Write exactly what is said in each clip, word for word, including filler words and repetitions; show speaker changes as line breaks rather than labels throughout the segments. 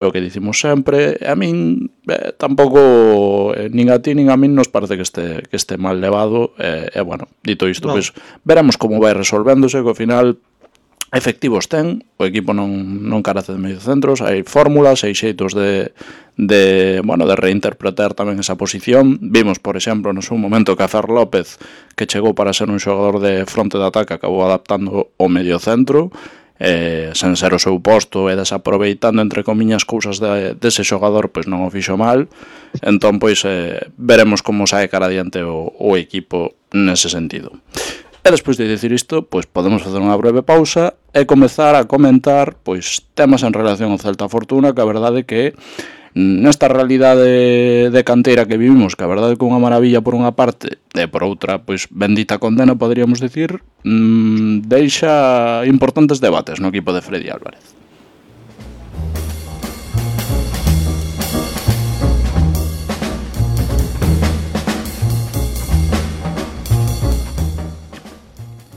o que dicimos sempre, a min eh, tampouco eh, nin a ti nin a min nos parece que este, que este mal levado, e eh, eh, bueno, dito isto, no. Pois veremos como vai resolvéndose, que ao final efectivos ten, o equipo non, non carece de mediocentros, hai fórmulas, hai xeitos de, de, bueno, de reinterpretar tamén esa posición. Vimos, por exemplo, no seu momento que a Fer López, que chegou para ser un xogador de fronte de ataque, acabou adaptando o mediocentro, eh, sen ser o seu posto e desaproveitando entre comiñas cousas de, dese xogador, pois non o fixo mal. Entón, pois, eh, veremos como sae cara adiante o, o equipo nese sentido. E despois de dicir isto, pois podemos facer unha breve pausa e comezar a comentar pois temas en relación ao Celta Fortuna, que a verdade que nesta realidade de canteira que vivimos, que a verdade que unha maravilla por unha parte e por outra, pois bendita condena, poderíamos dicir, mmm, deixa importantes debates no equipo de Freddy Álvarez.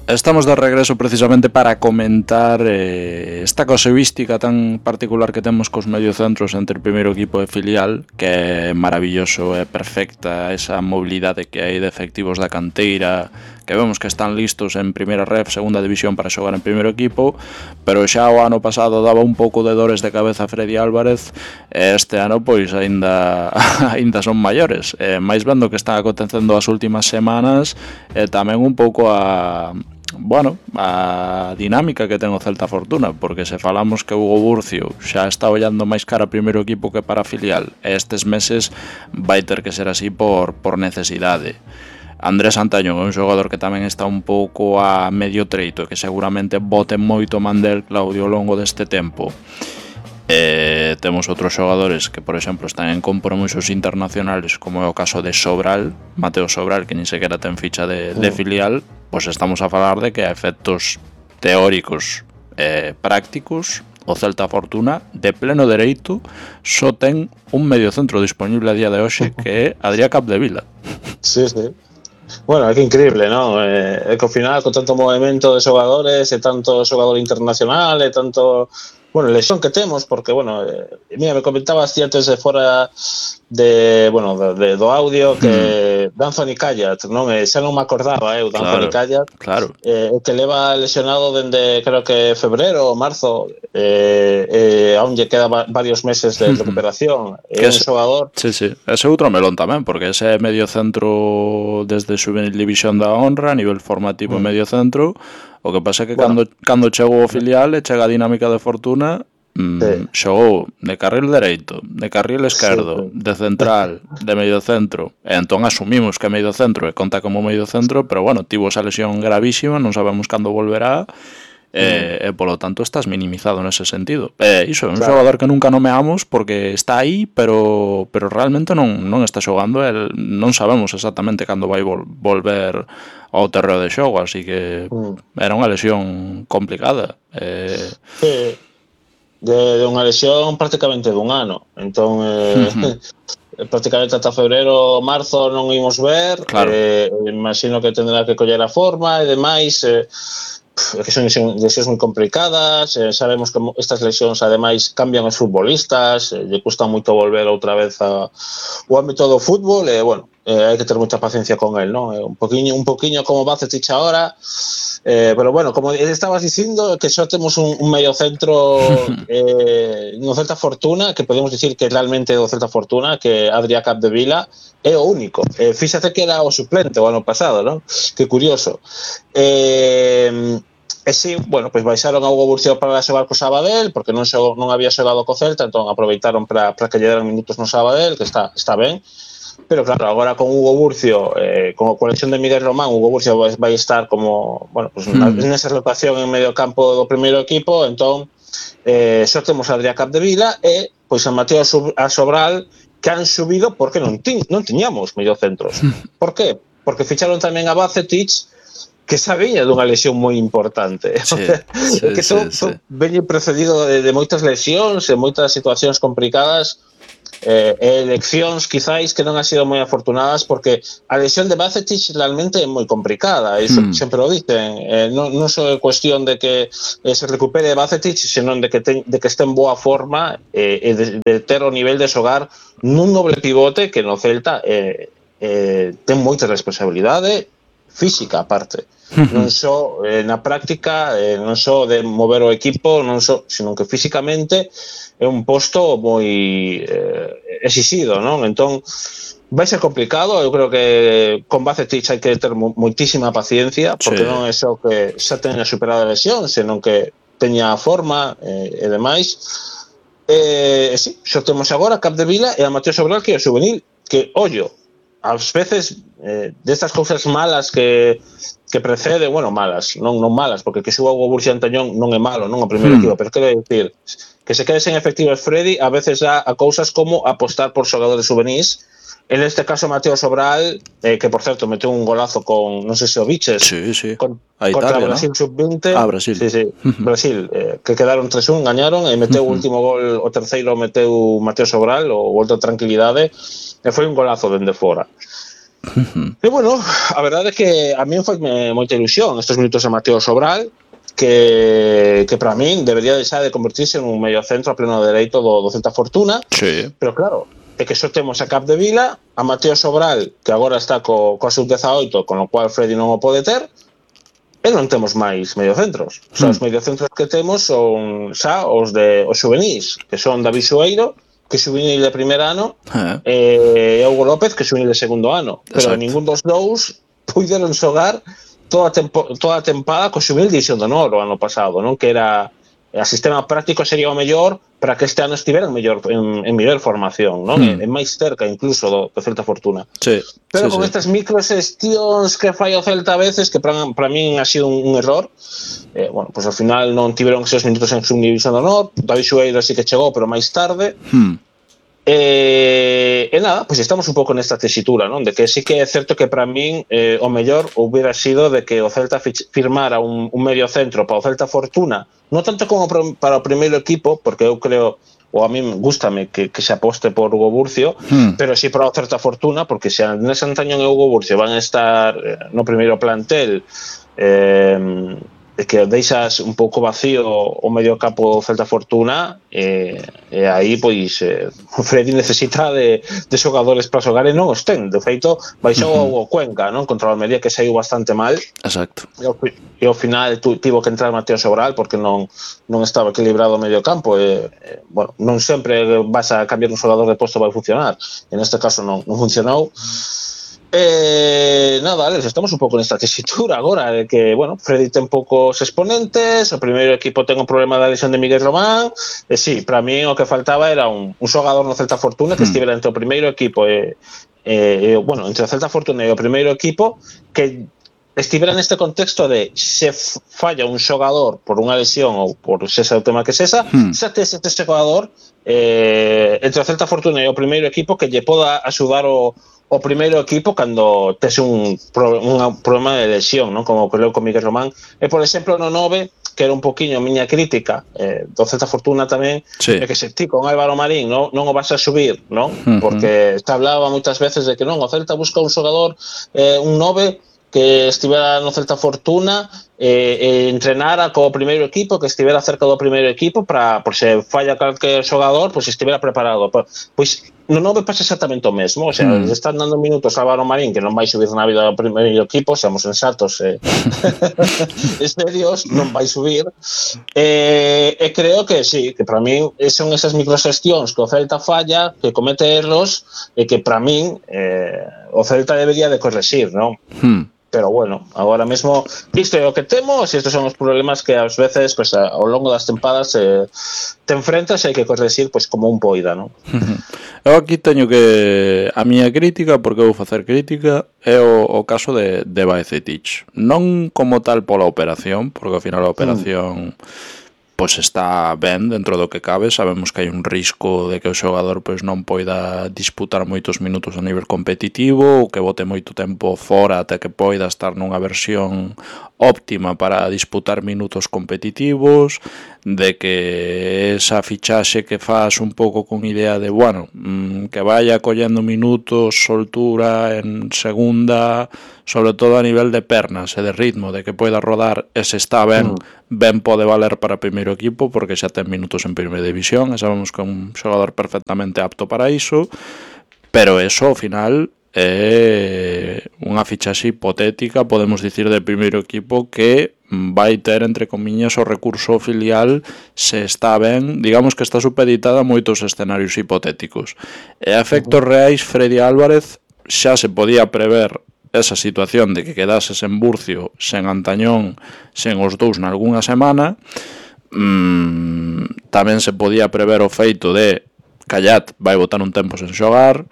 Estamos de regreso precisamente para comentar eh, esta casuística tan particular que temos cos mediocentros entre o primeiro equipo e filial, que é maravilloso, é perfecta esa mobilidade que hai de efectivos da canteira, que vemos que están listos en primeira ref, segunda división para xogar en primeiro equipo, pero xa o ano pasado daba un pouco de dores de cabeza a Freddy Álvarez, e este ano pois aínda aínda son maiores, e máis vendo que están acontecendo as últimas semanas, e tamén un pouco a bueno, a dinámica que ten o Celta Fortuna, porque se falamos que Hugo Burcio xa está ollando máis cara primeiro equipo que para filial, e estes meses vai ter que ser así por, por necesidade. Andrés Antañón é un xogador que tamén está un pouco a medio treito, que seguramente bote moito mandel Claudio ao longo deste tempo. Eh, temos outros xogadores que, por exemplo, están en compromisos internacionales, como é o caso de Sobral, Mateo Sobral, que nin sequera ten ficha de, de filial. Pois estamos a falar de que a efectos teóricos e eh, prácticos, o Celta Fortuna, de pleno dereito, só ten un mediocentro disponible a día de hoxe, que é Adrià Capdevila.
Sí, sí. Bueno, é que increíble, non? É eh, que ao final, con tanto movimento de xogadores, e tanto xogador internacional, e tanto... Bueno, lesión que temos, porque, bueno, eh, mira, me comentabas ti antes de fora de, bueno, de, de, do audio que mm. Danzoni Callat, non? E xa non me acordaba, eu, eh, Danzoni
claro,
Callat,
claro.
Eh, que leva lesionado dende, creo que febrero ou marzo, eh, eh, aún lle queda va, varios meses de recuperación. É un xogador...
Sí, sí, ese outro melón tamén, porque ese medio centro desde Juvenil División da Honra, a nivel formativo mm. medio centro. O que pasa é que bueno, cando, cando chegou o filial e chega a dinámica de Fortuna, mmm, sí. xogou de carril dereito, de carril esquerdo, sí, sí. de central, de medio centro, e entón asumimos que é medio centro e conta como medio centro, pero bueno, tivo esa lesión gravísima, non sabemos cando volverá, e, mm. e polo tanto estás minimizado nese sentido. E iso, é un claro. xogador que nunca nomeamos porque está aí, pero pero realmente non, non está xogando, el, non sabemos exactamente cando vai vol, volver ao terreo de xogo, así que mm. era unha lesión complicada. Eh...
Sí, de, de unha lesión prácticamente dun ano, entón eh, uh-huh. prácticamente ata febrero, marzo non imos ver,
claro.
eh, imagino que tendrá que coller a forma e demais, eh, que son lesións moi complicadas, eh, sabemos que estas lesións ademais cambian os futbolistas, eh, lle custa moito volver outra vez a, o ámbito do fútbol, e eh, bueno, eh, hai que ter moita paciencia con él, ¿no? Eh, un poquinho, un poquinho como Bacetich ahora, eh, pero bueno, como estabas dicindo, que só temos un, un medio centro eh, no Celta Fortuna, que podemos dicir que realmente do Celta Fortuna, que Adrià Capdevila é o único. Eh, fíxate que era o suplente o ano pasado, ¿no? Que curioso. Eh, E si, bueno, pois baixaron a Hugo Burcio para xogar co Sabadell, porque non xogou, non había xogado co Celta, entón aproveitaron para para que lle deran minutos no Sabadell, que está está ben. Pero claro, agora con Hugo Burcio, eh, con a colección de Miguel Román, Hugo Burcio vai, vai estar como, bueno, pues mm. nesa rotación en medio campo do primeiro equipo, entón eh, só temos a Adrià Capdevila e pois a Mateo a Sobral, que han subido porque non ti, non tiñamos mediocentros. Por qué? Porque ficharon tamén a Bacetich, que xa viña dunha lesión moi importante.
Sí, sí,
que son,
sí,
son
sí.
veñe precedido de, de moitas lesións e moitas situacións complicadas eh, eleccións quizáis que non han sido moi afortunadas, porque a lesión de Bajcetic realmente é moi complicada, iso mm. sempre o dicen, eh, non, non só é cuestión de que eh, se recupere Bajcetic, senón de que, ten, de que este en boa forma eh, e de, de ter o nivel de xogar nun doble pivote que no Celta eh, eh, ten moita responsabilidade física aparte. Non só eh, na práctica, eh, non só de mover o equipo, non só, senón que físicamente é un posto moi eh, exixido, non? Entón, vai ser complicado, eu creo que con Bajcetic hai que ter moitísima paciencia, porque sí. non é só que xa teña superado a lesión, senón que teña a forma eh, e demais. E eh, sí, xo temos agora a Capdevila e a Mateo Sobral, que é o juvenil, que, ollo, ás veces eh, destas cousas malas que que precede, bueno, malas, non non malas, porque que xuga o Borussia Antañón non é malo, non o primeiro hmm. equipo, pero quero dicir que se quede sen efectivos Freddy, a veces dá a cousas como apostar por xogadores juvenis. En este caso Mateo Sobral, eh, que por certo meteu un golazo con, non sei se o biches,
sí, sí.
Con,
a
contra
Italia,
Brasil, ¿no? sub veinte.
Ah, Brasil.
Sí, sí, Brasil, eh, que quedaron tres un, gañaron, e meteu o último gol, o terceiro meteu Mateo Sobral, o gol de tranquilidade, e foi un golazo dende fora. Uh-huh. E bueno, a verdade é que a mí foi moita ilusión estes minutos a Mateo Sobral, que, que para min debería deixar de convertirse en un medio centro a pleno dereito do, do Celta Fortuna,
sí.
Pero claro, é que só temos a Capdevila, a Mateo Sobral, que agora está co, co sub dezaoito, con o cual Freddy non o pode ter, e non temos máis mediocentros. O sea, mm. os mediocentros que temos son xa os de os juvenis, que son David Sueiro, que é juvenil de primer ano, eh. e Hugo López, que é juvenil de segundo ano. Pero Exacto. Ningún dos dous puideron xogar toda a, tempo, toda a tempada co juvenil de División de Honor o ano pasado, non? Que era o sistema práctico sería o mellor para que este ano estiveran mellor en, en mellor formación, non? Mm. E, e máis cerca incluso do, do Celta Fortuna.
Sí,
pero
sí,
con
sí.
estas microxestións que fai o Celta a veces, que para, para min ha sido un, un error, eh, bueno, pues ao final non tiveron esos minutos en Subdivisión de Honor, David Sueiro sí que chegou, pero máis tarde. Mm. E, e nada, pois pues estamos un pouco nesta tesitura, non? De que sí que é certo que para min eh, o mellor hubiera sido de que o Celta firmara un, un medio centro para o Celta Fortuna, non tanto como para o primeiro equipo, porque eu creo, ou a mí gústame que, que se aposte por Hugo Burcio, hmm. pero sí para o Celta Fortuna, porque se Andrés Antañón e Hugo Burcio van a estar eh, no primeiro plantel, eh, que deixas un pouco vacío o medio campo Celta Fortuna, e, e aí pois eh, Freddy necesita de, de xogadores para xogar e non os ten. De feito, baixou uh-huh. o Cuenca, non? Contra o Almería, que saiu bastante mal.
Exacto.
E ao, e ao final tu, tivo que entrar Mateo Sobral porque non non estaba equilibrado o medio campo. E, e, bueno, non sempre vas a cambiar un xogador de posto vai funcionar. En este caso non, non funcionou. Eh, nada, Alex, estamos un pouco nesta tesitura agora de que, bueno, Freddy ten poucos exponentes, o primeiro equipo ten un problema da lesión de Miguel Román, e sí, para mí o que faltaba era un, un xogador no Celta Fortuna que hmm. estivera entre o primeiro equipo e, e, bueno, entre o Celta Fortuna e o primeiro equipo, que estivera neste contexto de se falla un xogador por unha lesión ou por ese o tema que sesa, hmm. xa tes este xogador eh, entre o Celta Fortuna e o primeiro equipo que lle poda axudar o o primeiro equipo cando tes un, pro, un problema de lesión, non? Como creo con Miguel Román. E, por exemplo, no nove, que era un poquinho miña crítica eh, do Celta Fortuna tamén, sí. é que se ti con Álvaro Marín non, non o vas a subir, non? Uh-huh. Porque se hablaba moitas veces de que non, o Celta busca un xogador, eh, un nove, que estivera no Celta Fortuna e, e entrenara co primeiro equipo, que estivera cerca do primeiro equipo para, por se falla calquer xogador, pois estivera preparado. Pois no nove pasa exactamente o mesmo, o sea, mm. están dando minutos a Álvaro Marín que non vai subir na vida do primeiro equipo, seamos sensatos e eh. serios, non vai subir. E, e creo que sí, que para min son esas microxestións que o Celta falla, que comete erros e que para min eh, o Celta debería de corregir, non? Mm. Pero bueno, agora mesmo isto é o que temos e estes son os problemas que ás veces pues, ao longo das tempadas eh, te enfrentas e hai que corregir pues, como un poida, non?
Eu aquí teño que a miña crítica, porque vou facer crítica, é o, o caso de, de Bajcetic. Non como tal pola operación, porque ao final a operación mm. pois está ben dentro do que cabe. Sabemos que hai un risco de que o xogador pois non poida disputar moitos minutos a nivel competitivo ou que bote moito tempo fora até que poida estar nunha versión óptima para disputar minutos competitivos, de que esa fichaxe que faz un pouco con idea de, bueno, que vaya collendo minutos, soltura en segunda, sobre todo a nivel de pernas e de ritmo, de que poida rodar, e se está ben, ben pode valer para primeiro equipo, porque xa ten minutos en primeira división, e sabemos que é un xogador perfectamente apto para iso, pero eso, ao final, é unha fichaxe hipotética, podemos dicir, de primeiro equipo que vai ter, entre comiñas, o recurso filial se está ben, digamos que está supeditada a moitos escenarios hipotéticos. E a efectos reais, Freddy Álvarez xa se podía prever esa situación de que quedases en Burcio, sen Antañón, sen os dous nalgúna semana. mm, tamén se podía prever o feito de Callat vai botar un tempo sen xogar.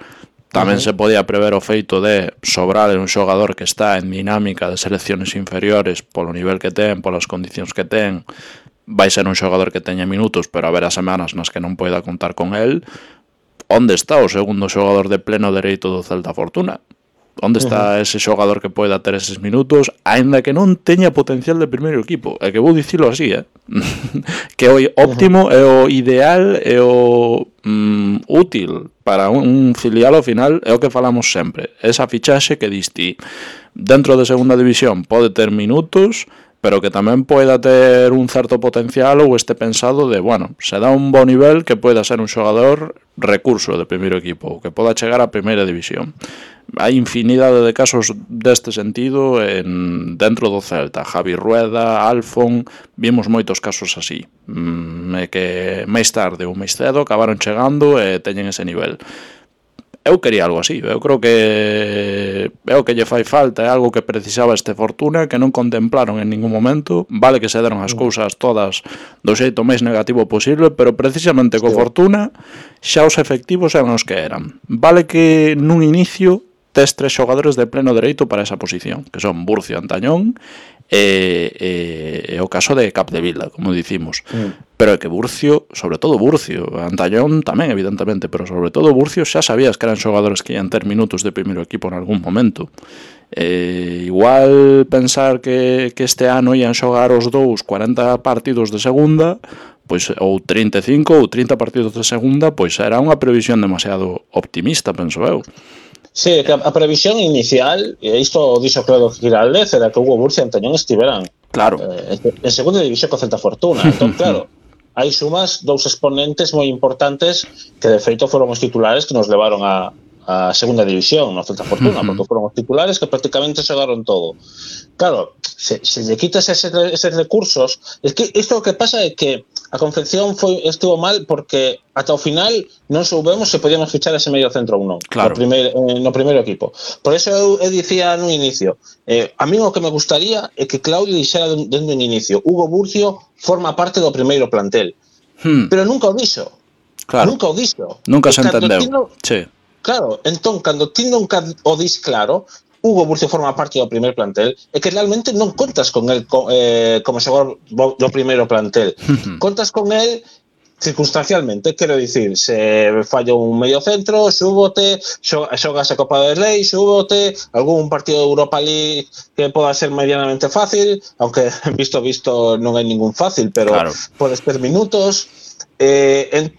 Tamén uh-huh. se podía prever o feito de sobrar un xogador que está en dinámica de selecciones inferiores polo nivel que ten, polas condicións que ten. Vai ser un xogador que teña minutos, pero haberá semanas nas que non poida contar con el. Onde está o segundo xogador de pleno dereito do Celta Fortuna? Onde está uh-huh. ese xogador que poida ter eses minutos, aínda que non teña potencial de primeiro equipo? É que vou dicilo así, eh? que o óptimo uh-huh. é o ideal, é o mm, útil para un filial ao final, é o que falamos sempre. Esa fichaxe que diste dentro de segunda división pode ter minutos, pero que tamén poida ter un certo potencial ou este pensado de, bueno, se dá un bo nivel que poida ser un xogador recurso de primeiro equipo, que poda chegar a primeira división. Hai infinidade de casos deste sentido en, dentro do Celta. Javi Rueda, Alfon, vimos moitos casos así, mm, e que máis tarde ou máis cedo acabaron chegando e teñen ese nivel. Eu quería algo así, eu creo que é o que lle fai falta, é algo que precisaba este Fortuna, que non contemplaron en ningún momento. Vale que se deron as cousas todas do xeito máis negativo posible, pero precisamente co Fortuna xa os efectivos eran os que eran. Vale que nun inicio tes tres xogadores de pleno dereito para esa posición, que son Burcio, Antañón e, e, e o caso de Capdevila, como dicimos. Mm. Pero é que Burcio, sobre todo Burcio, Antañón tamén, evidentemente, pero sobre todo Burcio, xa sabías que eran xogadores que ian ter minutos de primeiro equipo en algún momento. Eh, igual pensar que, que este ano ian xogar os dous cuarenta partidos de segunda, pois ou trinta e cinco ou trinta partidos de segunda, pois era unha previsión demasiado optimista, penso eu.
Sí, que a previsión inicial, e isto dixo claro Giraldez, era que Hugo Burcio e Antañón estiveran
claro.
eh, en segunda división co Celta Fortuna. Entón, claro, hai sumas dous exponentes moi importantes que de feito foron os titulares que nos levaron a, a segunda división no Celta Fortuna, porque foron os titulares que prácticamente xogaron todo. Claro, se, se lle quitas eses, eses recursos, es que isto o que pasa é que a confección foi estivo mal porque ata o final non soubemos se podíamos fichar ese medio centro ou non,
claro.
no, primeiro, eh, no primeiro equipo. Por eso eu, eu dicía no inicio, eh, a mí o que me gustaría é que Claudio dixera dende un inicio, Hugo Burcio forma parte do primeiro plantel, hmm. pero nunca o dixo.
Claro.
Nunca o dixo.
Nunca se entendeu. No, sí.
Claro, entón, cando ti nunca o dis claro, Hugo Burcio forma parte do primer plantel, e que realmente non contas con el eh, como xogador do primeiro plantel. Uh-huh. Contas con el circunstancialmente, quero dicir, se falla un medio centro, xúbote, xogas a Copa del Rei, xúbote, algún partido de Europa League que poda ser medianamente fácil, aunque visto visto non hai ningún fácil, pero claro. Podes ter minutos. Eh, en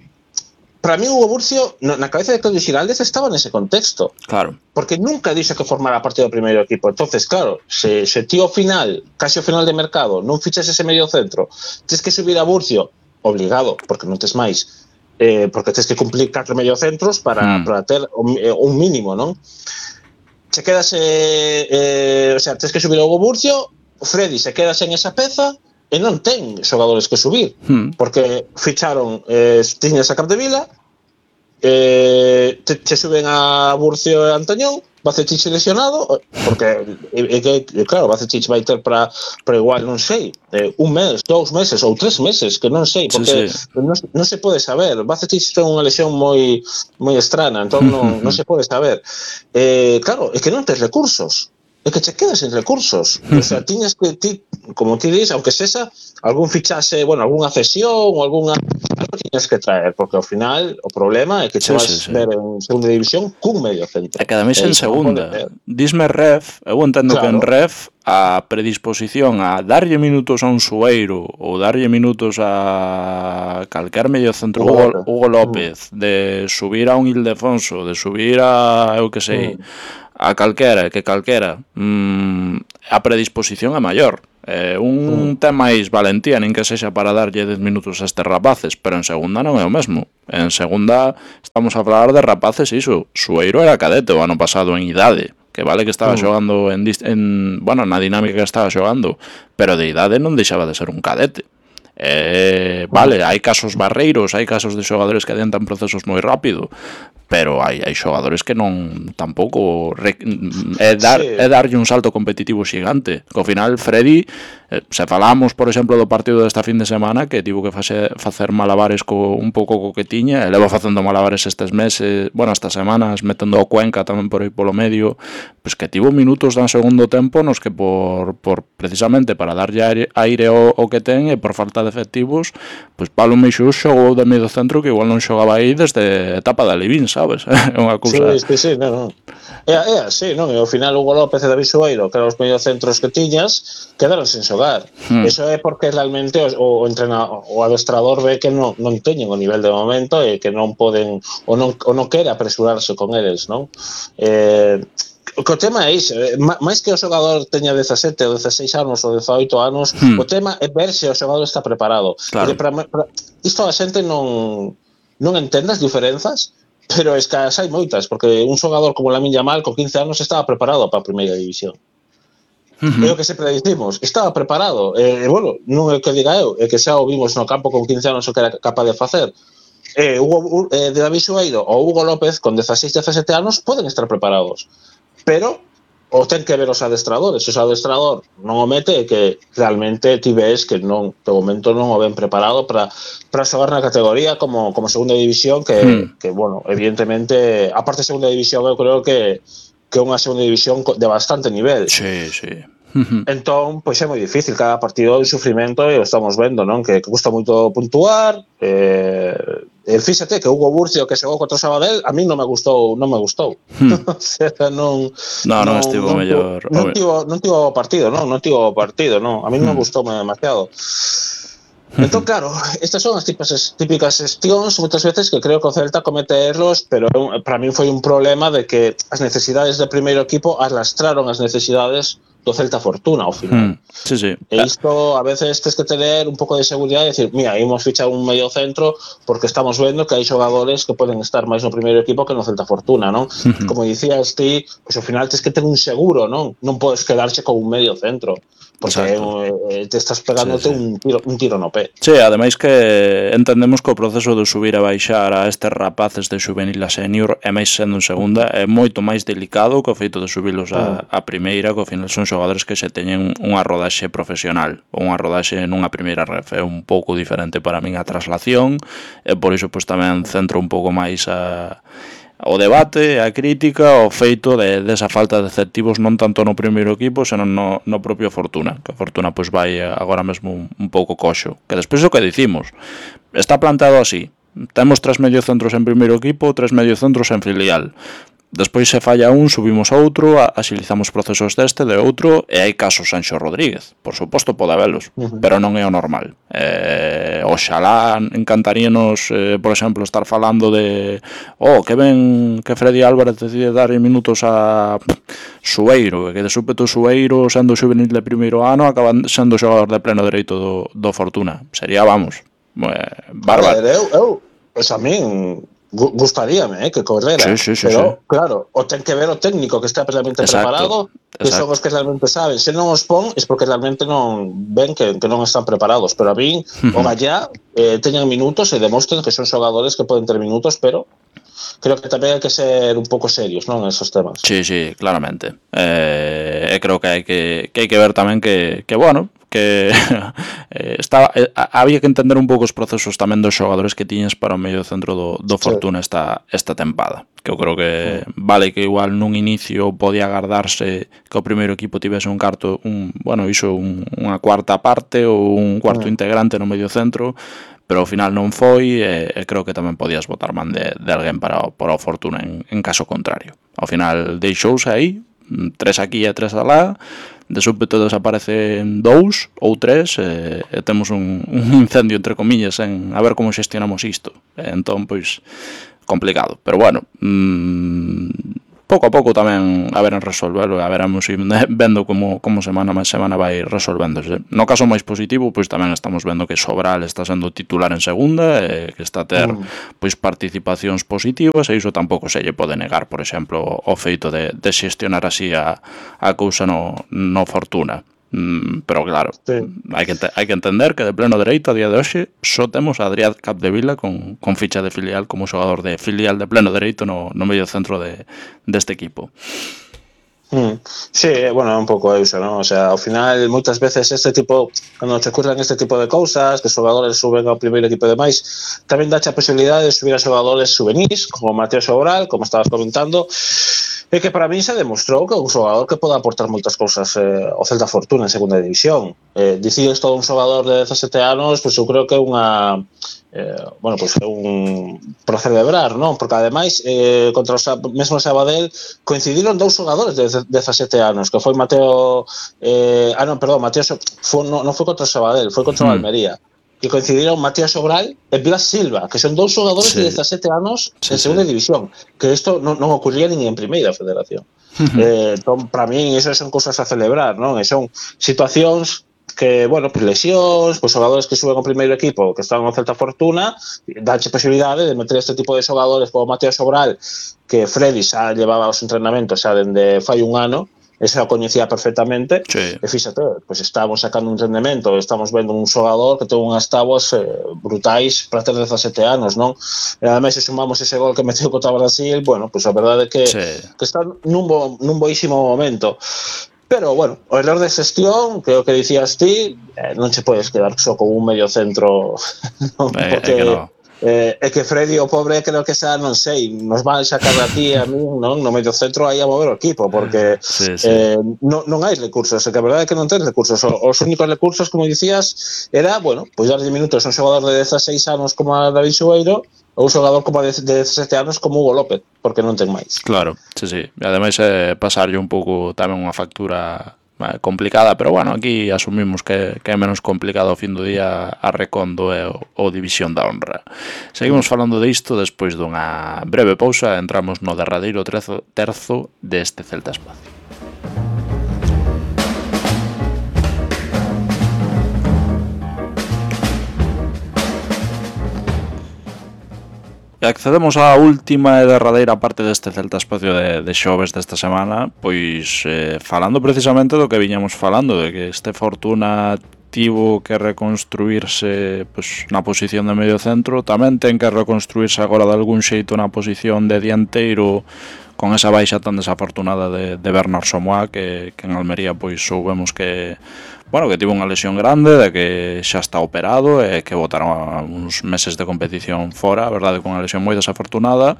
Para mí Hugo Burcio, na cabeza de Claudio Giraldez, estaba nese contexto.
Claro.
Porque nunca dixo que formara parte do primeiro equipo. Entonces, claro, se, se tío final, casi ao final de mercado, non fichas ese medio centro, tens que subir a Burcio, obligado, porque non tes máis, eh, porque tens que cumplir catro medio centros para, mm. para ter un, un mínimo, non? Se quedas, eh, eh, o sea, tens que subir a Hugo Burcio, Freddy se quedas en esa peza, e non ten xogadores que subir, hmm. porque ficharon eh, tiñas a Capdevila, eh, te, te suben a Burcio e Antañón, Bacetich lesionado, porque e, e, claro, Bacetich vai ter para para igual, non sei, eh, un mes, dous meses ou tres meses, que non sei, porque sí, sí. Non, non se pode saber. Bacetich ten unha lesión moi moi estrana, entón non, non se pode saber. Eh, claro, é que non tes recursos. É que che quedas sen recursos. O sea, tiñas que, ti, como ti dis, aunque sexa, algún fichase, bueno, algunha cesión ou algunha centro tiñas que traer, porque ao final o problema é que te
Sí,
vas
sí, sí.
ver en segunda división cun medio centro.
E que ademais
E
en
iso non pode
segunda,
ser.
disme Ref, eu entendo que en
Claro.
Ref a predisposición a darlle minutos a un Sueiro ou darlle minutos a calquer medio centro,
Hugo
Hugo,
López.
Hugo López, de subir a un Ildefonso, de subir a, eu que sei,
Mm.
a calquera, que calquera, mm, a predisposición é maior. Eh, un
Mm.
ten máis valentía, nin que sexa para darlle dez minutos a estes rapaces, pero en segunda non é o mesmo. En segunda estamos a falar de rapaces, iso, Sueiro era cadete o ano pasado en idade, que vale que estaba
Mm.
xogando en, en bueno, na dinámica que estaba xogando, pero de idade non deixaba de ser un cadete. Eh, vale, hai casos barreiros, hai casos de xogadores que adiantan procesos moi rápido, pero hai, hai xogadores que non tampouco re, é, dar,
Sí.
é darlle un salto competitivo xigante, que ao final Freddy, eh, se falamos por exemplo do partido desta fin de semana, que tivo que fase, facer malabares co, un pouco co que tiña, e leva facendo malabares estes meses, bueno, estas semanas, metendo o Cuenca tamén por aí polo medio, pois que tivo minutos dan segundo tempo nos que por, por precisamente para darlle aire, aire ao, ao que ten e por falta de efectivos, pois Pablo Meixús xogou de medio centro que igual non xogaba aí desde etapa de Alivín, sabes? É unha cousa...
Sí, sí, sí, non, non. É, é así, non? E ao final Hugo López e David Sueiro, que eran os mediocentros que tiñas, quedaron sen xogar.
Hmm.
Eso é porque realmente o, o entrenador, o adestrador ve que non, non teñen o nivel de momento e que non poden, ou non, ou non quere apresurarse con eles, non? Eh, o que o tema é iso, máis que o xogador teña dezasete ou dezaseis anos ou dezaoito anos,
Hmm.
o tema é ver se o xogador está preparado.
Claro.
Porque para, para, isto a xente non non entende as diferenzas, pero es que as hai moitas, porque un xogador como Lamine Yamal con quince anos estaba preparado para a primeira división.
Uh-huh.
É o que sempre dicimos, estaba preparado. E, bueno, non é o que diga eu, é que xa o vimos no campo con quince anos o que era capaz de facer. Eh, Hugo, eh, de David Sueiro ou Hugo López con dezaseis, dezasete anos poden estar preparados, pero o ten que ver os adestradores. Se o adestrador non o mete, é que realmente ti ves que non, de momento non o ven preparado para para xogar na categoría como, como segunda división, que,
Hmm.
que, bueno, evidentemente, aparte de segunda división, eu creo que que é unha segunda división de bastante nivel.
Sí, sí. Uh-huh.
Entón, pois é moi difícil, cada partido é un sufrimento e o estamos vendo, non? Que, que custa moito puntuar. Eh, e fíxate que Hugo Burcio, que xogou contra o Sabadell, a mí non me gustou, non me gustou.
Hmm.
O sea, non
No, non estivo mellor.
Non tivo, non tivo partido, non, non tivo partido, non. A mí non me
Hmm.
gustou demasiado. Entón, claro, estas son as típicas, típicas xestións moitas veces que creo que o Celta comete erros, pero para mí foi un problema de que as necesidades do primeiro equipo arrastraron as necesidades do Celta Fortuna ao final.
Hmm. Sí, sí.
E isto a veces tens que tener un pouco de seguridade e decir, mira, imos fichar un medio centro porque estamos vendo que hai xogadores que poden estar máis no primeiro equipo que no Celta Fortuna, non?
Uh-huh.
Como dicías ti, pois ao final tens que ter un seguro, non? Non podes quedarche con un medio centro, porque eh, te estás pegándote sí, sí. un tiro un tiro no pé.
Sí, ademais que entendemos que o proceso de subir e baixar a estes rapaces de juvenil a senior e máis sendo en segunda é moito máis delicado que o feito de subilos a, a primeira, que ao final son xogadores que se teñen unha rodaxe profesional ou unha rodaxe nunha primeira ref. É un pouco diferente para min a traslación e por iso pois tamén centro un pouco máis a o debate, a crítica, o feito de desa falta de efectivos non tanto no primeiro equipo, senón no, no propio Fortuna, que a Fortuna pois vai agora mesmo un, un pouco coxo. Que despois o que dicimos, está plantado así, temos tres mediocentros en primeiro equipo, tres mediocentros en filial. Despois se falla un, subimos outro, axilizamos procesos deste, de outro, e hai casos Sanxo Rodríguez, por suposto pode habelos, uh-huh. pero non é o normal. Eh, oxalá encantaríanos, eh, por exemplo, estar falando de oh, que ben que Freddy Álvarez decide dar minutos a Sueiro, e que de súpeto Sueiro, sendo juvenil de primeiro ano, acaban sendo xogador de pleno dereito do, do Fortuna. Sería, vamos, eh, bárbaro.
A ver, eu, eu, pues a min gustaríame, eh, que correra,
sí, sí, sí,
pero
sí.
claro, o ten que ver o técnico que está realmente exacto, preparado, que exacto. son os que realmente saben. Se non os pon, é porque realmente non ven que, que non están preparados, pero a min, uh-huh. o Gallá, eh, teñan minutos e demostren que son xogadores que poden ter minutos, pero creo que tamén hai que ser un pouco serios, non, en esos temas.
Sí, sí, claramente. Eh, creo que hai que, que hai que ver tamén que, que bueno, que eh, estaba, eh, había que entender un pouco os procesos tamén dos xogadores que tiñes para o medio centro do, do Fortuna sí. esta, esta tempada, que eu creo que sí. vale que igual nun inicio podía agardarse que o primeiro equipo tivese un carto, un, bueno, iso un, unha cuarta parte ou un cuarto sí. integrante no medio centro, pero ao final non foi, e, e creo que tamén podías botar man de, de alguén para, para a fortuna en, en caso contrario. Ao final deixouse aí, tres aquí e tres alá, de súpeto desaparecen dous ou tres, e, e temos un, un incendio entre comillas en a ver como xestionamos isto. E entón, pois, complicado, pero bueno, mmm, pouco a pouco tamén a ver en resolverlo, a veremos vendo como, como semana máis semana vai resolvéndose. No caso máis positivo, pois tamén estamos vendo que Sobral está sendo titular en segunda, e que está a ter pois participacións positivas, e iso tampouco se lle pode negar, por exemplo, o feito de, de xestionar así a, a cousa no, no Fortuna. Mm, pero claro, sí. hai que, hai que entender que de pleno dereito a día de hoxe só temos a Adrián Capdevila con, con ficha de filial como xogador de filial de pleno dereito no, no medio centro de, deste equipo.
Mm, sí, bueno, un pouco iso, ¿no? O sea, ao final, moitas veces este tipo, cando te ocurren este tipo de cousas, que os xogadores suben ao primeiro equipo de máis, tamén dache a posibilidade de subir a xogadores juvenis, como Mateo Sobral, como estabas comentando, e que para mí se demostrou que é un xogador que pode aportar moitas cousas eh, ao Celta Fortuna en segunda división. Eh, dicides todo un xogador de dezasete anos, pois pues eu creo que é unha eh, bueno, pois pues é un por celebrar, non? Porque ademais eh, contra o mesmo Sabadell coincidiron dous xogadores de dezasete anos, que foi Mateo eh, ah non, perdón, Mateo foi, non, non foi contra o Sabadell, foi contra o mm. Almería, que coincidiron Matías Sobral e Blas Silva, que son dous xogadores sí. de dezasete anos sí, en segunda sí. división, que isto non, non ocurría nin en primeira federación. Uh-huh. Eh, entón, para mí, eso son cousas a celebrar, non? E son situacións que, bueno, pues lesións, pues xogadores que suben ao primeiro equipo, que están no Celta Fortuna, danche posibilidade de meter este tipo de xogadores como Matías Sobral, que Freddy xa llevaba os entrenamentos xa dende fai un ano, ese o coñecía perfectamente, sí. E fíxate, pues estamos sacando un rendemento, estamos vendo un xogador que ten unhas tábuas eh, brutais para ter dezasete anos, non? E ademais, se sumamos ese gol que meteu contra Brasil, bueno, pues a verdade é que, sí. que está nun, bo, nun boísimo momento. Pero, bueno, o error de xestión, que o que dicías ti, eh, non che podes quedar só con un medio centro, non?
Eh,
Porque...
É que no.
Eh, é que Freddy, o pobre, creo que xa, non sei, nos van a sacar a ti a mí, non? No medio centro aí a mover o equipo, porque sí, sí. Eh, non, non hai recursos, é que a verdade é que non ten recursos. Os únicos recursos, como dicías, era, bueno, pois pues darlle minutos a un xogador de dezaseis anos como a David Sueiro, ou un xogador como de dezasete anos como Hugo López, porque non ten máis.
Claro, sí, sí. E ademais é pasarlle un pouco tamén unha factura complicada, pero bueno, aquí asumimos que, que é menos complicado ao fin do día a Recondo e o, o División da Honra. Seguimos falando de isto despois dunha breve pausa, entramos no derradeiro terzo, terzo deste Celta Espacio. E accedemos á última e derradeira parte deste Celta Espacio de, de xoves desta semana, pois eh, falando precisamente do que viñamos falando, de que este Fortuna tivo que reconstruirse pois, na posición de medio centro, tamén ten que reconstruirse agora de algún xeito na posición de dianteiro, con esa baixa tan desafortunada de, de Bernard Somoa, que, que en Almería pois soubemos que bueno, que tivo unha lesión grande, de que xa está operado e que botaron uns meses de competición fora, a verdade, con unha lesión moi desafortunada,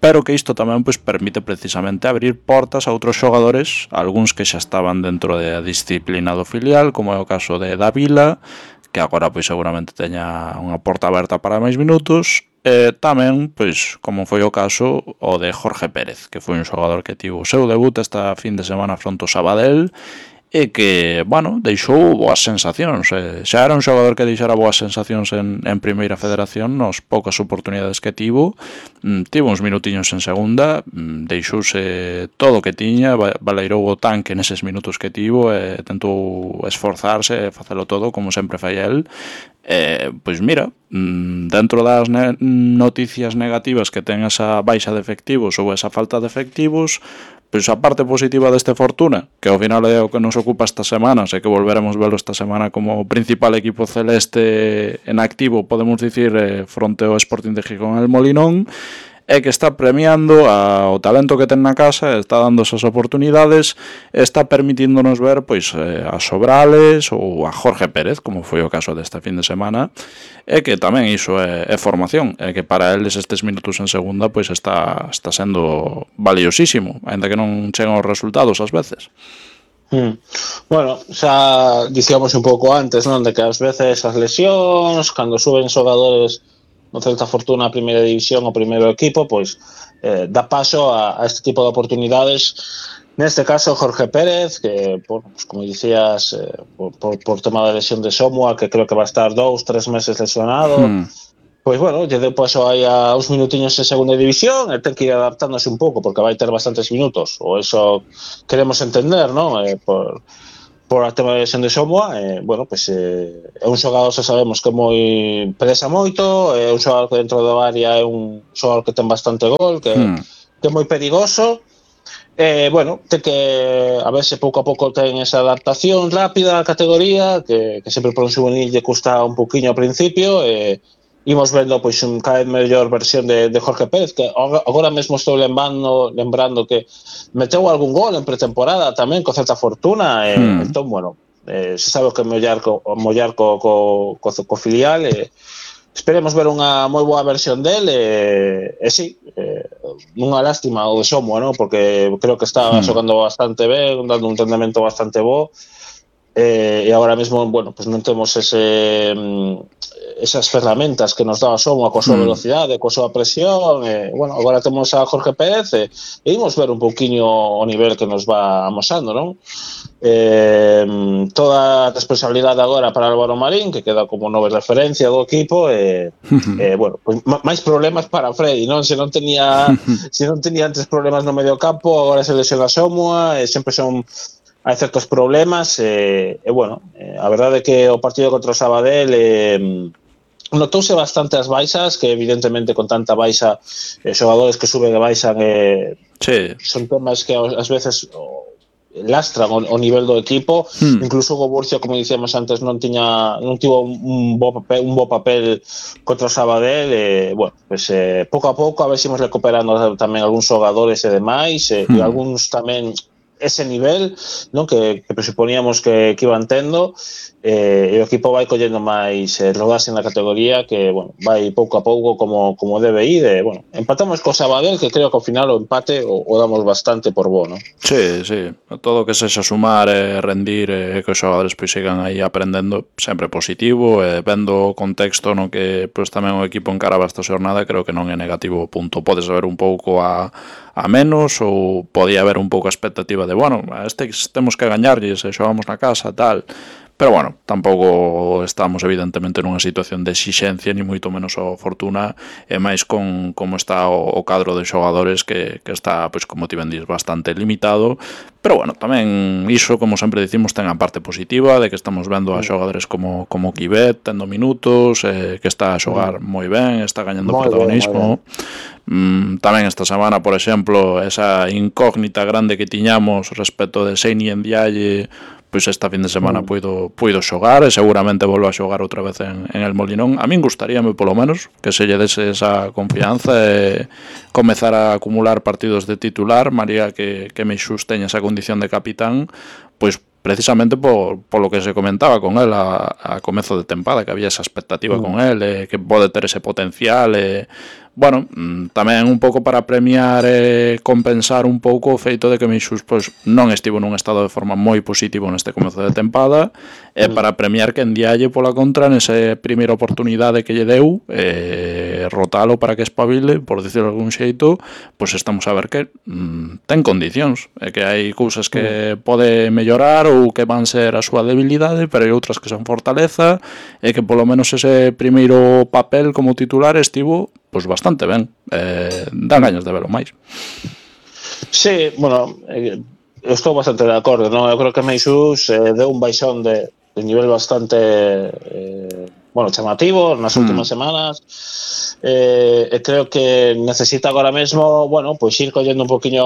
pero que isto tamén pois permite precisamente abrir portas a outros xogadores, algúns que xa estaban dentro da disciplina do filial, como é o caso de Davila, que agora pois seguramente teña unha porta aberta para máis minutos, e tamén, pois, como foi o caso o de Jorge Pérez, que foi un xogador que tivo o seu debut esta fin de semana fronte ao Sabadell, e que, bueno, deixou boas sensacións. Eh, xa era un xogador que deixara boas sensacións en, en Primeira Federación, nos poucas oportunidades que tivo, mm, tivo uns minutiños en segunda, mm, deixouse todo o que tiña, baleirou o tanque neses minutos que tivo, e tentou esforzarse e facelo todo, como sempre fai el. Eh, pois mira, dentro das ne- noticias negativas que ten esa baixa de efectivos ou esa falta de efectivos, pois a parte positiva deste Fortuna, que ao final é o que nos ocupa esta semana, sei que volveremos velo esta semana como o principal equipo celeste en activo, podemos dicir, eh, fronte ao Sporting de Gijón el Molinón, é que está premiando ao talento que ten na casa, está dando esas oportunidades, está permitíndonos ver pois a Sobrales ou a Jorge Pérez, como foi o caso desta fin de semana, e que tamén iso é, é formación, e que para eles estes minutos en segunda pois está, está sendo valiosísimo, ainda que non chegan os resultados ás veces.
Mm. Bueno, xa dicíamos un pouco antes, non, de que ás veces as lesións, cando suben xogadores no Celta Fortuna a primeira división o primeiro equipo, pois eh, dá paso a, a este tipo de oportunidades. Neste caso, Jorge Pérez, que, bueno, pues, como dicías, eh, por, por, por tema da lesión de Somua, que creo que va a estar dous, tres meses lesionado,
Hmm.
pois, bueno, lle deu paso aí a uns minutiños en segunda división e ten que ir adaptándose un pouco, porque vai ter bastantes minutos, ou eso queremos entender, non? Eh, por por a tema de lesión de Somua, eh, bueno, pues, eh, é un xogador, xa sabemos que moi presa moito, é un xogador que dentro do área é un xogador que ten bastante gol, que,
Hmm.
que é moi perigoso. Eh, bueno, ten que a ver se pouco a pouco ten esa adaptación rápida á categoría, que, que sempre por un juvenil lle custa un poquinho ao principio, e eh, imos vendo pois un cada vez mellor versión de, de Jorge Pérez, que agora mesmo estou lembrando, lembrando que meteu algún gol en pretemporada tamén co Celta Fortuna, e,
Hmm.
entón, bueno, eh, se sabe que mollar co, mollar co, co, co, co filial, e eh, esperemos ver unha moi boa versión del, e, e sí, eh, unha lástima o de Somua, ¿no? Porque creo que estaba
Hmm.
xogando bastante ben, dando un rendemento bastante bo, eh, e agora mesmo, bueno, pues non temos ese esas ferramentas que nos daba Somua coa súa
Hmm.
velocidade, coa súa presión, e, bueno, agora temos a Jorge Pérez, e, e imos ver un pouquiño o nivel que nos va amosando, non? Eh, toda a responsabilidade agora para Álvaro Marín, que queda como nova referencia do equipo, e, eh, bueno, pues, máis problemas para Freddy, non? Se non tenía se non tenía antes problemas no medio campo, agora se lesiona Somua, e sempre son hai certos problemas, e, e bueno, eh, a verdade é que o partido contra o Sabadell eh, notouse bastante as baixas, que evidentemente con tanta baixa, eh, xogadores que suben e baixan, eh,
Sí.
son temas que ás veces oh, lastran o, o nivel do equipo.
Hmm.
Incluso o Burcio, como dicíamos antes, non tiña non tivo un, un bo papel, un bo papel contra o Sabadell, e, bueno, pues, eh, pouco a pouco a ver se imos recuperando tamén algúns xogadores e demais, e,
Hmm.
e algúns tamén ese nivel, non, que, que presuponíamos que, que iban tendo, eh, e o equipo vai collendo máis eh, rodaxe na categoría, que, bueno, vai pouco a pouco como, como debe ir, e, bueno, empatamos co Sabadell, que creo que ao final o empate o, o damos bastante por bo, non?
Sí, sí, todo o que sexa sumar e rendir e que os xogadores pois sigan aí aprendendo sempre positivo, e vendo o contexto no que pois tamén o equipo encaraba esta xornada, creo que non é negativo o punto. Podes ver un pouco a, a menos, ou podía haber un pouco a expectativa de, bueno, a este temos que gañarlles e xogamos na casa, tal. Pero bueno, tampouco estamos evidentemente nunha situación de exixencia, ni moito menos o Fortuna, e máis con como está o, o cadro de xogadores que, que está, pois como ti ben dis, bastante limitado. Pero bueno, tamén iso, como sempre dicimos, ten a parte positiva de que estamos vendo a xogadores como, como Kibet tendo minutos, eh, que está a xogar moi ben, está gañando
Moi
protagonismo.
ben,
Mm, tamén esta semana, por exemplo, esa incógnita grande que tiñamos respecto de Seini en Dialle, pois esta fin de semana
Mm.
puido, puido xogar, e seguramente volvo a xogar outra vez en, en el Molinón. A min gustaríame polo menos que se lle dese esa confianza e comezar a acumular partidos de titular, María que, que Meixús teña esa condición de capitán, pois precisamente por, por lo que se comentaba con él a, a comezo de tempada, que había esa expectativa
Mm.
con él, e que pode ter ese potencial, e bueno, tamén un pouco para premiar e compensar un pouco o feito de que Meixús pois, non estivo nun estado de forma moi positivo neste comezo de tempada, e para premiar que Ndiaye pola contra nesa primeira oportunidade que lle deu, e rotalo para que espabile, por dicirlo de algún xeito, pois estamos a ver que mm, ten condicións, e que hai cousas que pode mellorar ou que van ser a súa debilidade, pero hai outras que son fortaleza, e que polo menos ese primeiro papel como titular estivo pois bastante ben, eh, dan gañas de velo máis.
Sí, bueno, eh, estou bastante de acordo, non? Eu creo que Meixús eh, deu un baixón de, de nivel bastante eh, bueno, chamativo nas
Hmm.
últimas semanas, eh, e creo que necesita agora mesmo, bueno, pois ir collendo un poquinho,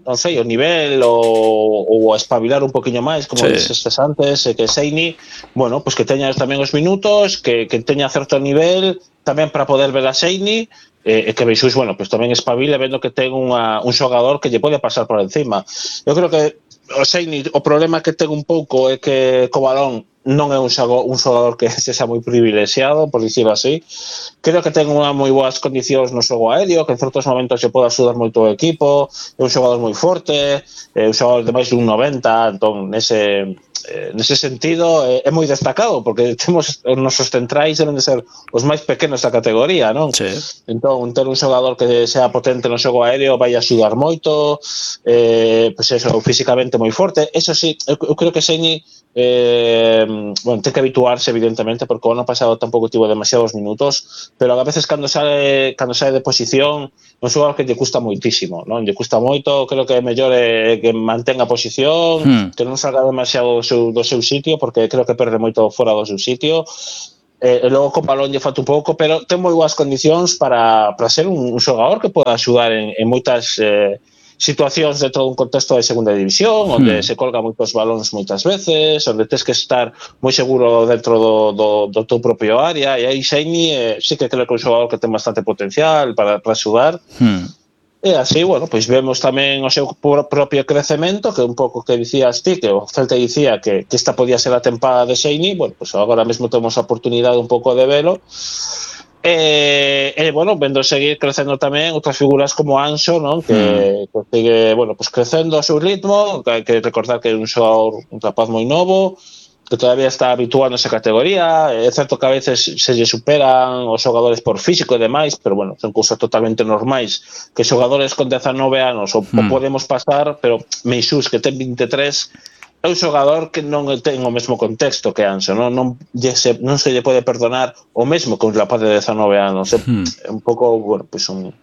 non sei, o nivel ou, ou espabilar un poquinho máis, como
Sí.
dixestes antes, e que Seini, bueno, pois que teña tamén os minutos, que, que teña certo nivel tamén para poder ver a Seini, e, e que Meixús, bueno, pois tamén espabile vendo que ten unha, un xogador que lle pode pasar por encima. Eu creo que o Seini, o problema que ten un pouco é que co balón non é un xogador, un xogador que sexa moi privilexiado, por dicirlo así. Creo que ten unha moi boas condicións no xogo aéreo, que en certos momentos se pode axudar moito o equipo, é un xogador moi forte, é un xogador de máis de un noventa, entón, nese, eh, nese sentido, é, é moi destacado, porque temos os nosos centrais deben de ser os máis pequenos da categoría, non?
Sí.
Entón, ter un xogador que sea potente no xogo aéreo vai axudar moito, eh, pues eso, físicamente moi forte. Eso sí, eu, eu creo que Seini eh, bueno, ten que habituarse evidentemente, porque o ano pasado tampouco tivo demasiados minutos, pero a veces cando sale cando sale de posición é un xogador que lle custa moitísimo, non? Lle custa moito, creo que é mellor é que mantenga a posición, hmm. que non salga demasiado do seu, do seu sitio, porque creo que perde moito fora do seu sitio. E, e logo co balón lle falta un pouco, pero ten moi boas condicións para, para ser un, un xogador que poda axudar en, en moitas eh, situacións dentro dun contexto de segunda división, onde hmm. se colga moitos balóns moitas veces, onde tens que estar moi seguro dentro do, do, do teu propio área, e aí Seini eh, sí que creo que é un xogador que ten bastante potencial para, para axudar. Hmm. E así, bueno, pois vemos tamén o seu propio crecemento, que un pouco que dicías ti, que o Celta dicía que, que esta podía ser a tempada de Seini, bueno, pois agora mesmo temos a oportunidade un pouco de velo. E, e bueno, vendo seguir crecendo tamén outras figuras como Anxo, non? Que, mm. que sigue, bueno, pues crecendo a seu ritmo, que hai que recordar que é un xogador, un rapaz moi novo, que todavía está habituado nesa categoría. É certo que a veces se lle superan os xogadores por físico e demais, pero bueno, son cousas totalmente normais que xogadores con dezanove anos o, mm. o podemos pasar, pero Meixús, que ten vinte e tres, é un xogador que non ten o mesmo contexto que Anxo, non, non, se, non se lle pode perdonar o mesmo que un rapaz de dezanove anos. É, hmm. é un pouco, bueno, pues son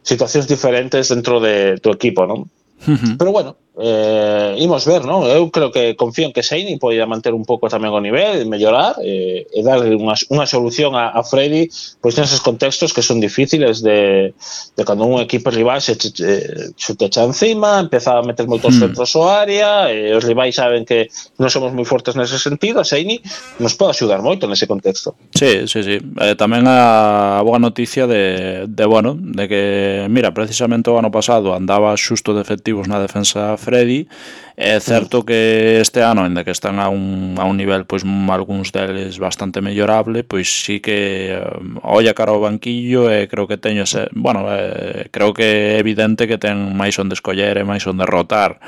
situacións diferentes dentro de tu equipo, non? Uh-huh. Pero bueno, eh, imos ver, non? Eu creo que confío en que Seini poida manter un pouco tamén o nivel, mellorar e, e dar unha, unha solución a, a Freddy, pois neses contextos que son difíciles de, de cando un equipo rival se, se, se te echa encima, empeza a meter moitos hmm. centros ao área, e os rivais saben que non somos moi fortes nese sentido. A Seini nos pode axudar moito nese contexto.
Sí, sí, sí. Eh, tamén a boa noticia de, de, bueno, de que, mira, precisamente o ano pasado andaba xusto de efectivos na defensa Freddy. É certo que este ano, ainda que están a un, a un nivel, pois algúns deles bastante mellorable, pois sí que um, olla cara ao banquillo e creo que teño ese, bueno, eh, creo que é evidente que ten máis onde escoller e máis onde rotar.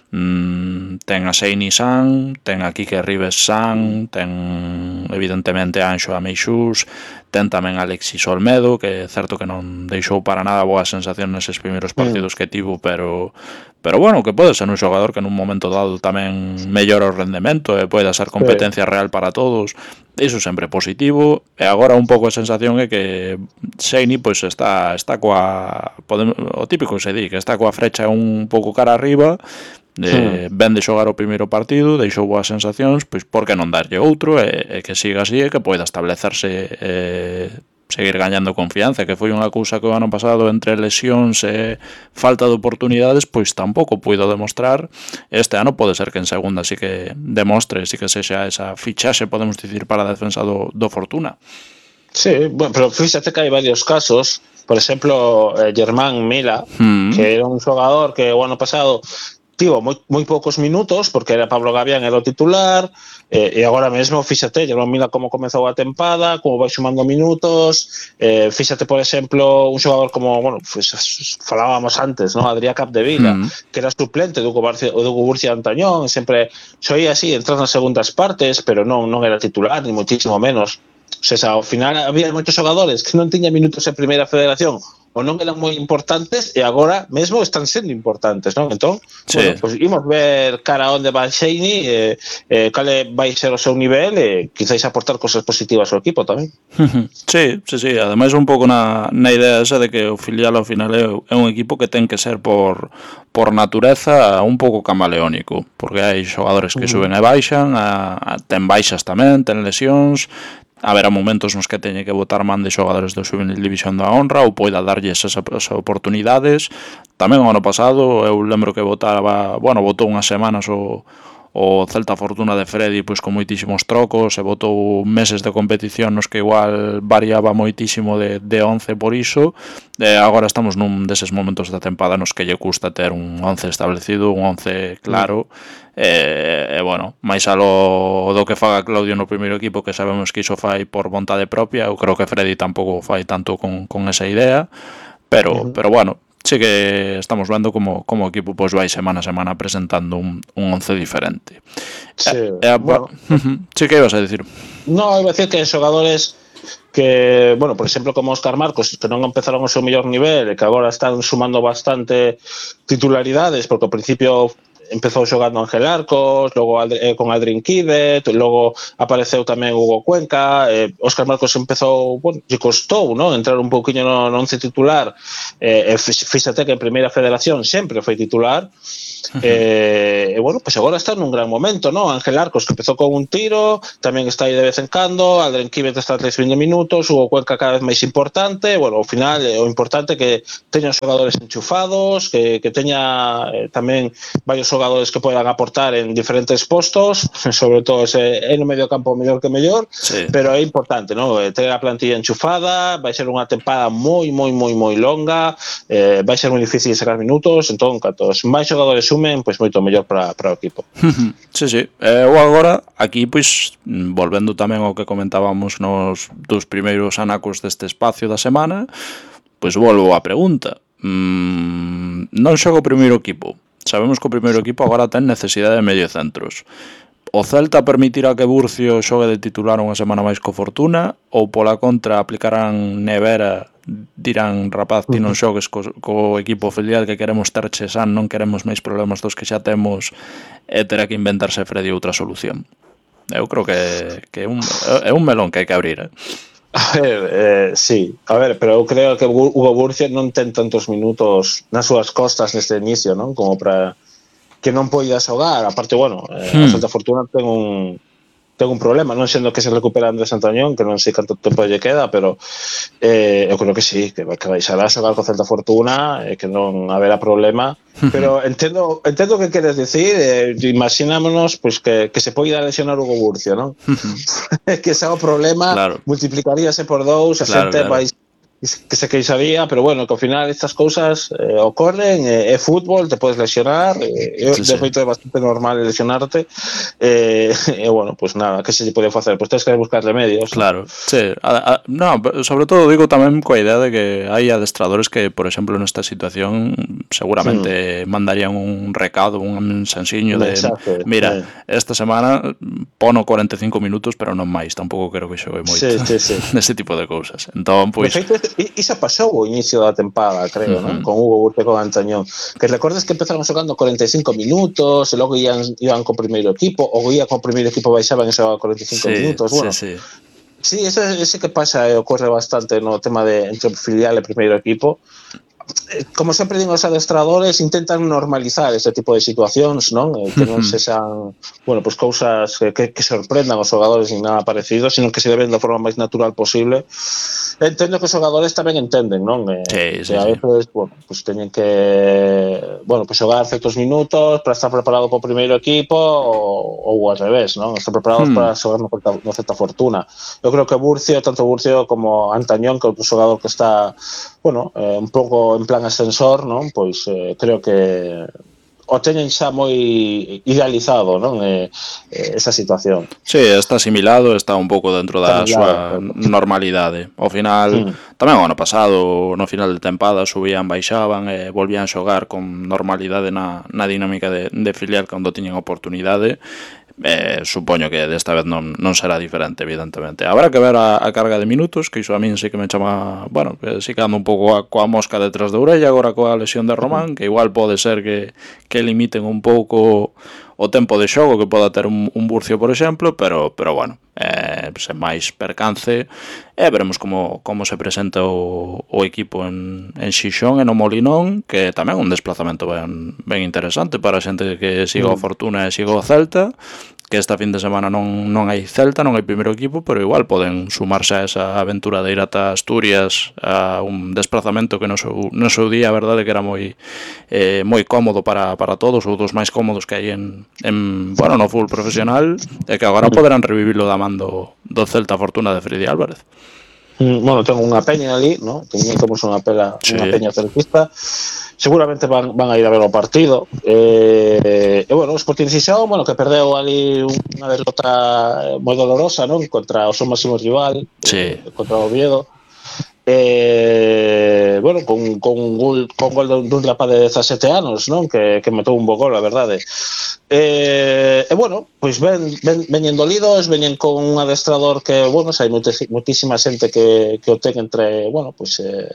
Mm, ten a Seini San, ten a Quique Rives San, ten evidentemente a Anxo a Meixús, ten tamén a Alexis Olmedo, que é certo que non deixou para nada boa sensación neses primeiros partidos que tivo, pero pero bueno, que pode ser un xogador que nun momento dado tamén mellora o rendemento e pode ser competencia real para todos. Iso sempre positivo. E agora un pouco a sensación é que Seini pois está está coa podemos, o típico que se di, que está coa frecha un pouco cara arriba. De, hmm. ven de xogar o primeiro partido, deixou boas sensacións, pois por que non darlle outro e, e que siga así e que poida establecerse e seguir gañando confianza, que foi unha cousa que o ano pasado entre lesións e falta de oportunidades pois tampouco puido demostrar. Este ano pode ser que en segunda sí que demostre, sí que sexa esa fichaxe, podemos dicir, para a defensa do, do Fortuna.
Sí, bueno, pero fíxate que hai varios casos, por exemplo, eh, Germán Mila, hmm. que era un xogador que o ano pasado tivo moi, moi poucos minutos, porque era Pablo Gavián era o titular, eh, e agora mesmo, fíxate, Germán Mila como comezou a tempada, como vai sumando minutos, eh, fíxate, por exemplo, un xogador como, bueno, pues, falábamos antes, ¿no? Adrián Capdevila, mm. que era suplente do Hugo Burcia Antañón, sempre soía así, entrar nas segundas partes, pero non, non era titular, ni muchísimo menos. O sea, ao final había moitos xogadores que non tiñan minutos en primeira federación ou non eran moi importantes e agora mesmo están sendo importantes, non? Entón, sí. bueno, pues imos ver cara onde vai Seini, eh, eh, cale vai ser o seu nivel e quizáis aportar cosas positivas ao equipo tamén.
Sí, sí, sí, ademais un pouco na, na idea esa de que o filial ao final é, é un equipo que ten que ser por, por natureza un pouco camaleónico, porque hai xogadores que uh-huh. suben e baixan, a, a, ten baixas tamén, ten lesións. Haberá momentos nos que teñe que botar man de xogadores do Juvenil División da Honra ou poida darlles esas, esas oportunidades. Tamén o ano pasado eu lembro que botaba, bueno, botou unhas semanas o, o Celta Fortuna de Freddy pois con moitísimos trocos, e botou meses de competición nos que igual variaba moitísimo de, de once por iso, e agora estamos nun deses momentos da tempada nos que lle custa ter un once establecido, un once claro, e, e bueno, máis alo do que faga Claudio no primeiro equipo, que sabemos que iso fai por vontade propia. Eu creo que Freddy tampouco fai tanto con, con esa idea, pero, uh-huh. pero bueno, sí que estamos vendo como, como o equipo pois vai semana a semana presentando un, un once diferente.
Sí,
e, e,
bueno.
Sí, que ibas a dicir?
No, iba a decir que xogadores que, bueno, por exemplo, como Óscar Marcos, que non empezaron o seu mellor nivel e que agora están sumando bastante titularidades, porque ao principio empezou xogando Ángel Arcos, logo eh, con Adrián Quivet, logo apareceu tamén Hugo Cuenca, eh, Óscar Marcos empezou, bueno, lle costou, ¿no?, entrar un pouquiño no, no once titular, eh, fíxate que en Primeira Federación sempre foi titular, uh-huh. eh, e bueno, pues agora está nun gran momento, ¿no? Ángel Arcos, que empezou con un tiro, tamén está aí de vez en cando, Adrián Quivet está a trinta minutos, Hugo Cuenca cada vez máis importante, bueno, ao final, eh, o importante é que teña xogadores enchufados, que, que teña eh, tamén varios xogadores que podan aportar en diferentes postos, sobre todo ese en o medio campo mellor que mellor, sí. Pero é importante, ¿no?, ter a plantilla enchufada, vai ser unha tempada moi, moi, moi, moi longa, eh, vai ser moi difícil sacar minutos, entón, cantos máis xogadores sumen, pois moito mellor para, para o equipo.
Sí, sí. Eu agora, aquí, pois, volvendo tamén ao que comentábamos nos dos primeiros anacos deste espacio da semana, pois volvo á pregunta. Mm, non xogo o primeiro equipo. Sabemos que o primeiro equipo agora ten necesidade de mediocentros. O Celta permitirá que Burcio xogue de titular unha semana máis co Fortuna, ou pola contra aplicarán nevera, dirán, rapaz, ti non xogues co, co equipo filial que queremos ter Chesan, non queremos máis problemas dos que xa temos, e terá que inventarse Freddy outra solución. Eu creo que, que é, un, é un melón que hai que abrir, eh?
A ver, eh, sí, a ver, pero eu creo que Hugo Burcio non ten tantos minutos nas súas costas neste inicio, non? Como para que non poida xogar. Aparte, bueno, eh, hmm. a Celta Fortuna ten un ten un problema, non sendo que se recupera Andrés Antañón, que non sei canto tempo lle queda, pero eh, eu creo que sí, que, que baixará a xogar co Celta Fortuna, e eh, que non haberá problema, pero entendo entendo o que queres dicir, eh, imaginámonos pues, que, que se poida lesionar Hugo Burcio, non? Que ese é o problema, claro. Multiplicaríase por dous, a claro, xente claro. vai que se queixaría, pero bueno, que ao final estas cousas eh, ocorren, é eh, fútbol, te podes lesionar, eh, sí, de feito sí. É bastante normal lesionarte, e eh, eh, bueno, pues nada, que se lle pode facer? Pues tens que buscar remedios.
Claro, sí, a, a, no, sobre todo digo tamén coa idea de que hai adestradores que, por exemplo, nesta situación seguramente mm. mandarían un recado, un mensaxiño de, mensaje, mira, eh. esta semana pono cuarenta e cinco minutos, pero non máis, tampouco quero que xogue moito,
sí, sí, sí.
Neste tipo de cousas. Entón, pois...
De feito, iso pasou o inicio da tempada, creo, uh-huh. ¿no? Con Hugo Burcio con Antañón, que recordes que empezaron xogando cuarenta e cinco minutos, e logo ian, iban co primeiro equipo, ou ia co primeiro equipo baixaban e xogaban cuarenta e cinco sí, minutos, bueno. Sí, sí. Sí, ese, ese que pasa e ocorre bastante no tema de entre filial e primeiro equipo. Como sempre digo, os adestradores intentan normalizar este tipo de situacións, non? Que non se xan, bueno, pues cousas que, que, que sorprendan os xogadores nin nada parecido, sino que se deben da forma máis natural posible. Entendo que os xogadores tamén entenden, non?
Sí, sí,
que a veces, sí. bueno, pues teñen que, bueno, pues xogar certos minutos para estar preparado para o primeiro equipo ou, ou al revés, non? Estar preparados hmm. para xogar no, no Celta Fortuna. Eu creo que Burcio, tanto Burcio como Antañón, que é outro xogador que está, bueno, eh, un pouco en plan ascensor, non? Pois eh, creo que o teñen xa moi idealizado, non? Eh, eh, esa situación.
Sí, está asimilado, está un pouco dentro da súa normalidade. Ao final, mm. tamén o ano pasado, no final de tempada, subían, baixaban e volvían xogar con normalidade na, na dinámica de, de filial cando tiñen oportunidade. Eh, supoño que desta vez non, non será diferente, evidentemente. Habrá que ver a, a carga de minutos, que iso a min sí que me chama, bueno, que sí que ando un pouco a, coa mosca detrás de orella agora coa lesión de Román, que igual pode ser que, que limiten un pouco o tempo de xogo que poda ter un, un Burcio, por exemplo, pero, pero bueno, eh, sen máis percance, e veremos como, como se presenta o, o equipo en, en Xixón e no Molinón, que tamén é un desplazamento ben, ben interesante para a xente que siga o Fortuna e siga o Celta, que esta fin de semana non, non hai Celta, non hai primeiro equipo, pero igual poden sumarse a esa aventura de ir ata Asturias, a un desplazamento que no seu, no seu día, a verdade que era moi eh, moi cómodo para, para todos, ou dos máis cómodos que hai en, en bueno, no fútbol profesional, e que agora poderán revivirlo da man do, do Celta Fortuna de Freddy Álvarez.
Bueno, tengo unha peña ali, ¿no? Temos unha pela, sí. unha peña celtista. Seguramente van, van a ir a ver o partido. Eh, e, bueno, o Sporting Xixón, bueno, que perdeu ali unha derrota moi dolorosa, ¿no? Contra o seu máximo rival,
sí.
eh, contra o Oviedo. Eh, bueno, con, con un gol, con gol dun, dun rapaz de dezasete anos, non? Que, que metou un bo gol, a verdade. Eh, e bueno, pois ven, ven, veñen dolidos, veñen con un adestrador que, bueno, hai moitísima xente que, que o ten entre, bueno, pois eh,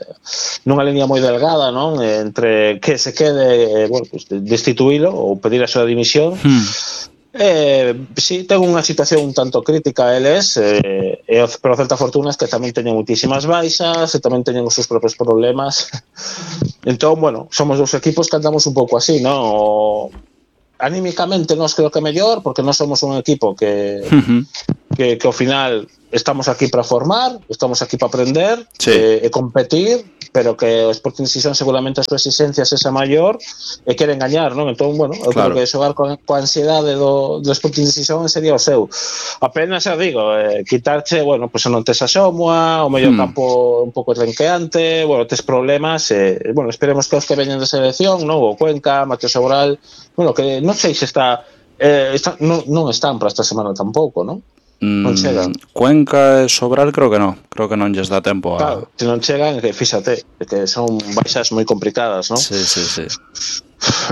nunha línea moi delgada, non? Entre que se quede, eh, bueno, pois destituílo ou pedir a súa dimisión. Hmm. Eh, sí, ten unha situación un tanto crítica eles, eh, e, pero o Celta Fortuna es que tamén teñen muitísimas baixas e tamén teñen os seus propios problemas. Entón, bueno, somos dos equipos que andamos un pouco así, ¿no? Anímicamente nos creo que mellor, porque non somos un equipo que, uh-huh. que, que ao final estamos aquí para formar, estamos aquí para aprender, sí. eh, e competir, pero que o Sporting Xixón seguramente a súa exigencia sexa maior e queren gañar, non? Entón, bueno, eu claro. creo que xogar con, coa ansiedade do, do Sporting Xixón sería o seu. Apenas, xa digo, eh, quitarche, bueno, pois pues, non tes a Xomua, o mellor hmm. campo un pouco renqueante, bueno, tes problemas, e, eh, bueno, esperemos que os que veñen de selección, non? O Cuenca, Mateo Sobral, bueno, que non sei se está, eh, está non, non están para esta semana tampouco, non? Non chegan.
Cuenca e Sobral creo que non, creo que non lles dá tempo a...
Claro, se non chegan, que fíxate, que son baixas moi complicadas, non?
Sí, sí, sí.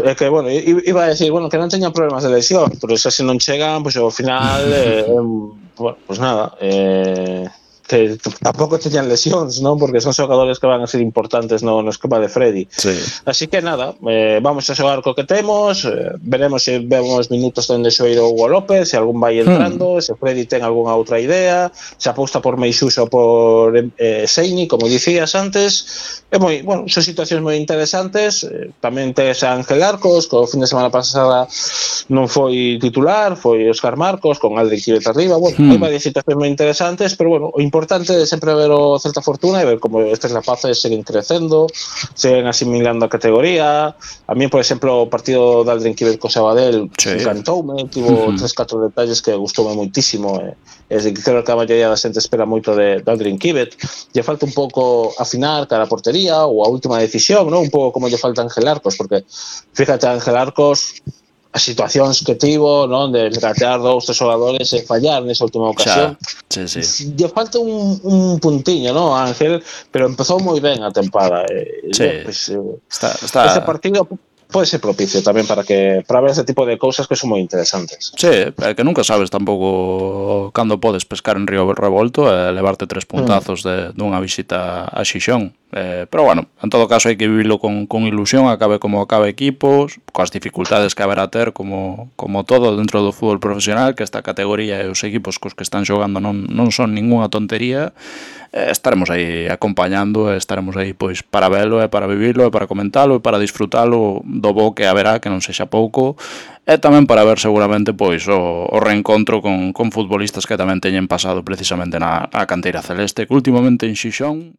É que, bueno, iba a decir, bueno, que non teñan problemas de lesión, pero xa se non chegan, pois pues, ao final, eh, eh, bueno, pois pues nada, eh... que tampouco teñan lesións, non? Porque son xogadores que van a ser importantes no, no esquema de Freddy.
Sí.
Así que nada, eh, vamos a xogar co que temos, eh, veremos se vemos minutos onde xoiro Hugo López, se algún vai entrando, hmm. se Freddy ten algunha outra idea, se aposta por Meixuso ou por eh, Seini, como dicías antes. É moi, bueno, son situacións moi interesantes. Eh, tamén tes a Ángel Arcos, que o fin de semana pasada non foi titular, foi Óscar Marcos, con Aldrin Quibet arriba. Bueno, hmm. hai varias situacións moi interesantes, pero bueno, o importante é sempre ver o Celta Fortuna e ver como estes rapaces seguen crecendo, seguen asimilando a categoría. A mí, por exemplo, o partido de Aldrin Quibet co Sabadell sí. encantoume, tivo uh-huh. tres, catro detalles que gustoume moitísimo, e, e creo que a maioría da xente espera moito de, de Aldrin Quibet. Lle falta un pouco afinar cara a portería ou a última decisión, ¿no? Un pouco como lle falta a Ángel Arcos, porque fíjate, Ángel Arcos as situacións que tivo, non, de regatear dous, tres xogadores e fallar nesa última ocasión.
Sí, sí.
Lle falta un, un puntiño, non, Ángel, pero empezou moi ben a tempada.
Sí.
Eh, pues, eh,
está, está...
Ese partido pode ser propicio tamén para que para ver ese tipo de cousas que son moi interesantes.
Sí, é que nunca sabes tampouco cando podes pescar en Río Revolto e levarte tres puntazos mm. de dunha visita a Xixón. Eh, pero bueno, en todo caso hai que vivilo con, con ilusión, acabe como acabe equipos, coas dificultades que haberá ter como, como todo dentro do fútbol profesional, que esta categoría e os equipos cos que están xogando non, non son ningunha tontería. Eh, estaremos aí acompañando, estaremos aí pois para velo e para vivilo e para comentalo e para disfrutalo do bo que haberá, que non sexa pouco, e tamén para ver seguramente pois o, o reencontro con, con futbolistas que tamén teñen pasado precisamente na, na canteira celeste, que últimamente en Xixón